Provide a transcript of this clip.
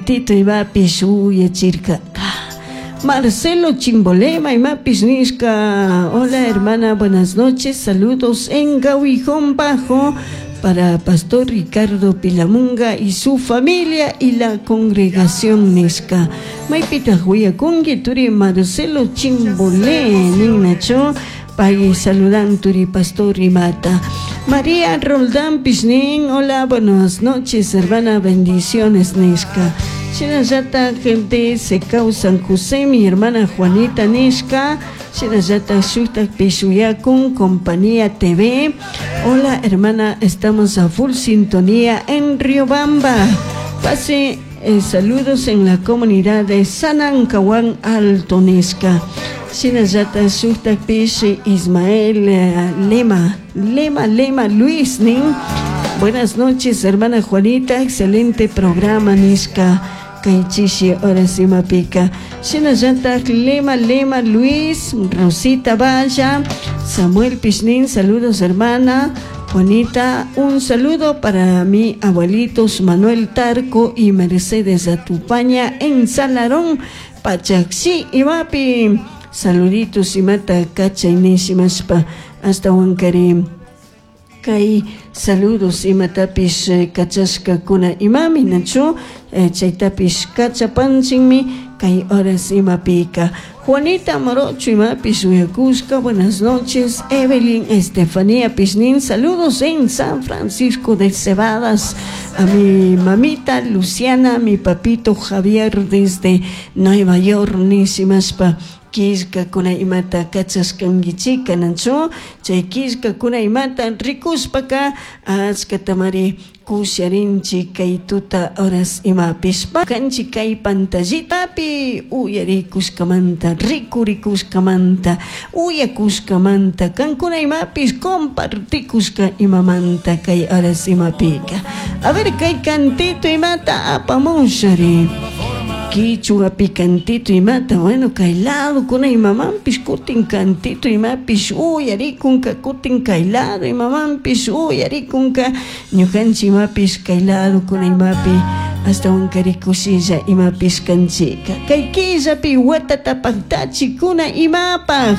Tito imapish uyachirkaka. Marcelo Chimbolema imapish nishka. Hola hermana, buenas noches. Saludos en Gawijón Bajo para Pastor Ricardo Pilamunga y su familia y la congregación nishka. Maypitaq wiyakunki turi Marcelo Chimbolé ninnachu pay saludan turi Pastor imata. María Roldán Pishnin, hola, buenas noches, hermana, bendiciones, nishka. Shinallata gente se San José, mi hermana Juanita nishka. Shinallata shuktak pishuyakun, Compañía TV. Hola, hermana, estamos a full sintonía en Riobamba. Pase saludos en la comunidad de Sanancahuán Alto nishka. Shinallata shuktakpish Ismael Lema, Lema, Lema Luis nin. Buenas noches, hermana Juanita, excelente programa nishka. Kay chishi horas imapika. Shinallata Lema, Lema Luis, Rosita Valla, Samuel Pishnin, saludos hermana. Juanita, un saludo para mi abuelitos Manuel Tarco y Mercedes Atupaña en Salarón, Pachaxi, imapi. Saluditos imata kachay nishimashpa hasta wankari kay saludos imatapish kachashkakuna imami nachu chaytapish kachapanchinmi kay horas imapika. Juanita Morocho imapish uyakushka, buenas noches. Evelyn Estefanía Pishnin, saludos en San Francisco de Cebadas. A mi mamita Luciana, mi papito Javier desde Nueva York, nishimashpa. Killkakuna imata kachashkankichika nachu chay killkakuna imata rikushpaka achkatamari kusharinchik kay tuta horas imapish kanchik kay pantallitapi uyarikushkamanta rikurikushkamanta uyakushkamanta kankuna imapish compartikushka imamanta kay horas imapika. A ver kay cantito imata apamushari. Quichua picantito imata, bueno, kay lado kuna imamanpish kutin cantito imapish uyarikunka kutin kay lado imamanpish uyarikunka ñukanchik imapish kay lado kuna imapi hasta wankari kushilla imapish kanchika kay killapi watata paktachikuna imapaj.